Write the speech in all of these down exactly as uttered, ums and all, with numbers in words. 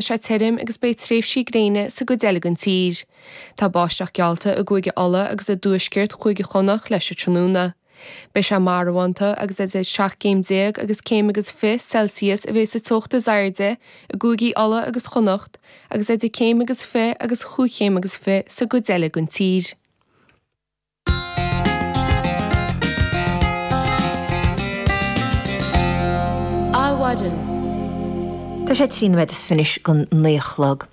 sé tirim agus beidh tréimhsí gréine sa gcuid eile den tír. Tá báisteach geallta i gCúige Uladh agus i dtuaisceart Chúige Chonnacht leis an tráthnóna. Beidh sé marbhánta agus idir seacht gcéim déag agus céim agus fiche Celsius a bheidh sa teocht is airde i gCúigí Uladh agus Chonnacht agus idir céim agus fiche agus chúig chéim agus fiche sa gcuid eile den tír. Adhmhaidin. Tá sé trí nóiméad is fiche don naoi a chlog.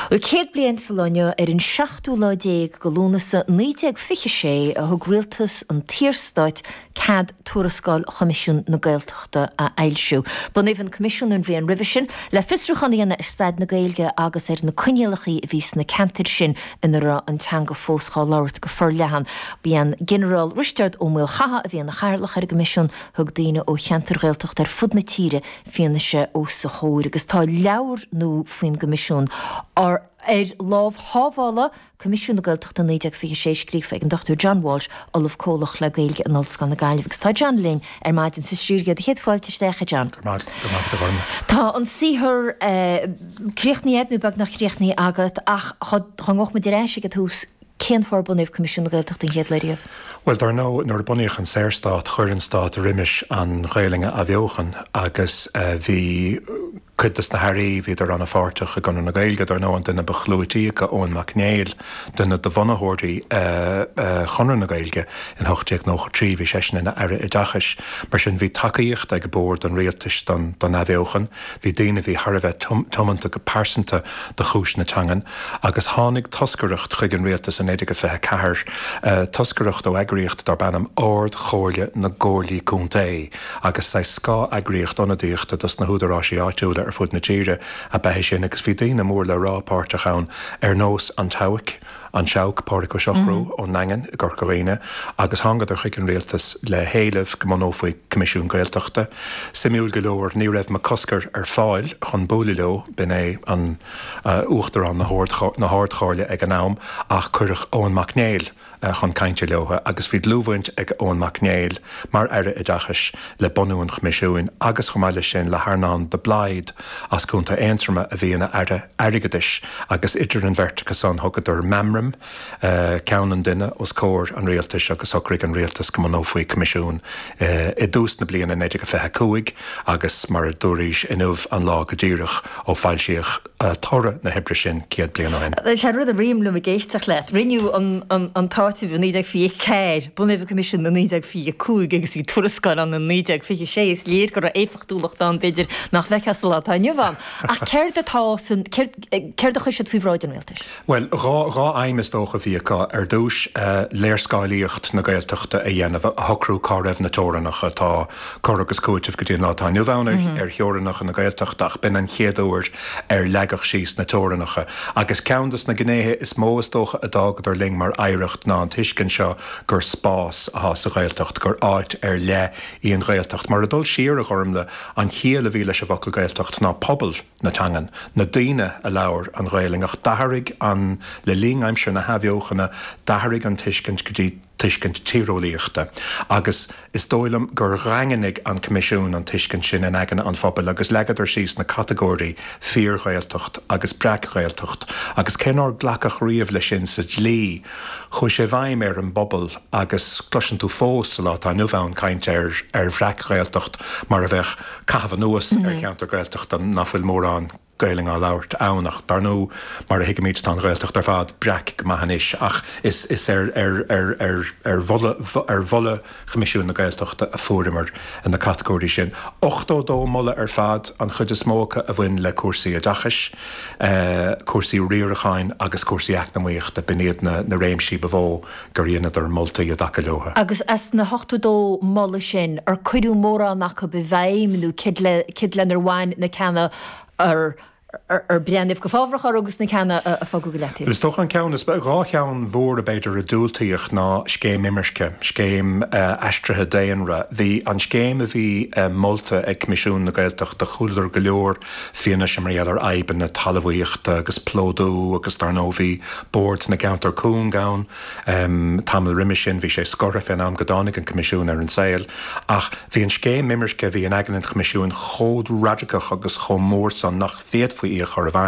Bhuel, céad bliain sa lá inniu, ar an seachtú lá déag de Lúnasa naoi déag fiche sé, a thug rialtas an tSaorstáit cead tuarascáil Choimisiún na Gaeltachta a fhoilsiú. Bunaíodh an Coimisiún an bhliain roimhe sin le fiosrúchán a dhéanamh ar staid na Gaeilge agus ar na coinníollacha a bhí sna ceantair sin ina raibh an teanga fós dhá labhairt go forleathan. B'é an Ginearál Risteard Ó Maolchatha a bhí ina chathaoirleach ar an gCoimisiún. Thug daoine ó cheantair Ghaeltachta ar fud na tíre fianaise os a chomhair agus tá leabhar nua faoin gCoimisiún ar ar lámh shábhála, Coimisiún na Gaeltachta naoi déag fiche sé, scríofa ag an Dochtúir John Walsh, Ollamh Comhlach le Gaeilge in Ollscoil na Gaillimhe. Agus tá John linn ar maidin sa stiúideo. Do chéad fáilte isteach, a John. Go raibh maith agat, a Ghormlaith. Tá an saothar críochnaithe agat, nó beagnach críochnaithe agat, ach dá ngabhfadh muid ar ais ag an tús, cén fáth ar bunaíodh Coimisiún na Gaeltachta an chéad lá riamh? Bhuel, dar ndóigh, nuair a bunaíodh an Saorstát, chuir an stát roimis an Ghaelainn a athbheochan agus bhí cuid de na hairí, bhíodar an-pháirteach i gConradh na Gaeilge, dar ndóigh, an duine ba chlúití acu, Eoin Mac Néill, duine de bhunaitheoirí Chonradh na Gaeilge in ocht déag nócha trí, bhí seisean ina Aire Oideachais. Mar sin, bhí tacaíocht ag bord an rialtais don athbheochan, bhí daoine a bhí thar a bheith tiomanta go pearsanta do chúis na teangan agus tháinig toscaireacht chuig an rialtas in naoi déag fiche ceathair, toscaireacht ó eagraíocht darb ainm Ard-Chomhairle na gComhairlí Contae agus saghas scáth-eagraíocht ionadaíochta dos na húdaráisí áitiúla ar fud na tíre ab ea é sin agus bhí daoine mór le rá páirteach ann ar nós an tSeabhaic, an Seabhac, Pádraig Ó Siochrú ón nDaingean i gCorca Dhuibhne agus thángadar chuig an rialtas le héileamh go mbunófaí Coimisiún Gaeltachta. Suimiúil go leor ní raibh Mac Cosgair ar fáil chun bualadh leo, b'in é an Uachtarán na hArd-Chomhairle ag an am, ach cuireadh Eoin Mac Néill chun cainte leo agus bhí dlúthbhaint ag Eoin Mac Néill mar Aire Oideachais le bunú an Choimisiúin agus chomh maith leis sin le hEarnán de Blaghd as Contae Aontroma a bhí ina Aire Airgeadais agus idir an bheirt acu san thugadar meamram, ceann an duine, os comhair an rialtais agus shocraigh an rialtas go mbunófaí Coimisiún i dtús na bliana naoi déag a fiche a cúig agus mar a dúraís inniu an lá go díreach ó foilsíodh toradh na hoibre sin céad bliain ó shin. Sé an rud a ritheann liom ag éisteacht leat, rinneadh an t-áiteamh i naoi déag fiche a ceathair, bunaíodh an Coimisiún i naoi déag fiche a cúig agus bhí tuarascáil ann i naoi déag fiche a sé, is léir go raibh éifeachtúlacht ann b'fhéidir nach bhfeicfeá sa lá atá inniu ann. Ach céard atá san, céard a chuir siad faoi bhráid an rialtais? Bhuel, dhá, dhá aidhm is dócha a bhí acu. Ar dtús, léarscáilíocht na Gaeltachta a dhéanamh, a shocrú cá raibh na teorainneacha. Tá cur agus cúiteamh go dtí an lá atá inniu ann ar theorainneacha na Gaeltachta ach b'in an chéad uair ar leagadh síos na teorainneacha. Agus ceann de na gnéithe is mó is dócha a d'fhágadar linn mar oidhreacht ná an tuiscint seo gur spás atá sa Ghaeltacht, gur áit ar leith í an Ghaeltacht. Mar ag dul siar, a Ghormlaith, an chiall a bhí leis an bhfocal Gaeltacht ná pobal na teangan, na daoine a labhair an Ghaelainn. Ach d'athraigh an, le linn aimsir na hAthbheochana, d'athraigh an tuiscint go dtí tuiscint tíreolaíochta. Agus is dóigh liom gur dhaingnigh an Coimisiún an tuiscint sin in aigne an phobail agus leagadar síos na catagóirí 'fíor-Ghaeltacht' agus 'breac-Ghaeltacht' agus cé nár glacadh riamh leis sin sa dlí, chuaigh sé i bhfeidhm ar an bpobal agus cloiseann tú fós sa lá atá inniu ann caint ar ar bhreac-Ghaeltacht mar a bheadh caitheamh anuas ar cheantar Gaeltachta nach bhfuil mórán Gaelainn á labhairt ann ach dar ndóigh mar a thuigimid tá an Ghaeltacht ar fad breac go maith anois ach is is ar ar ar ar ar mholadh ar mholadh Choimisiún na Gaeltachta a fuaireamar na catagóirí sin. ochtó dó moladh ar fad, an chuid is mó acu a bhain le cúrsaí oideachais, cúrsaí riaracháin agus cúrsaí eacnamaíochta, b'in iad na na réimsí ba mhó gur dheineadar moltaí i dtaca leo. Agus as na hochtó dó moladh sin, ar cuireadh mórán acu i bhfeidhm nó céard le céard lenar bhain na ceanna ar ar breathnaíodh go fábhrach orthu agus na ceanna a fágadh go leataobh. Is dócha an ceann is, dhá cheann mhóra b'fhéidir a diúltaíodh ná scéim imirce, scéim aistrithe daonra. Bhí an scéim a bhí molta ag Coimisiún na Gaeltachta, chualadar go leor fianaise mar gheall ar fhadhbanna talmhaíochta agus plódú agus dar ndóigh bhí Bord na gCeantar Cúng ann tamall roimis sin, bhí sé scortha fén am go dtáinig an Coimisiún ar an saol ach bhí an scéim imirce a bhí in aigne an Choimisiúin chomh radacach agus chomh mór san nach bhféadfaí faoi í a chur i bhfeidhm.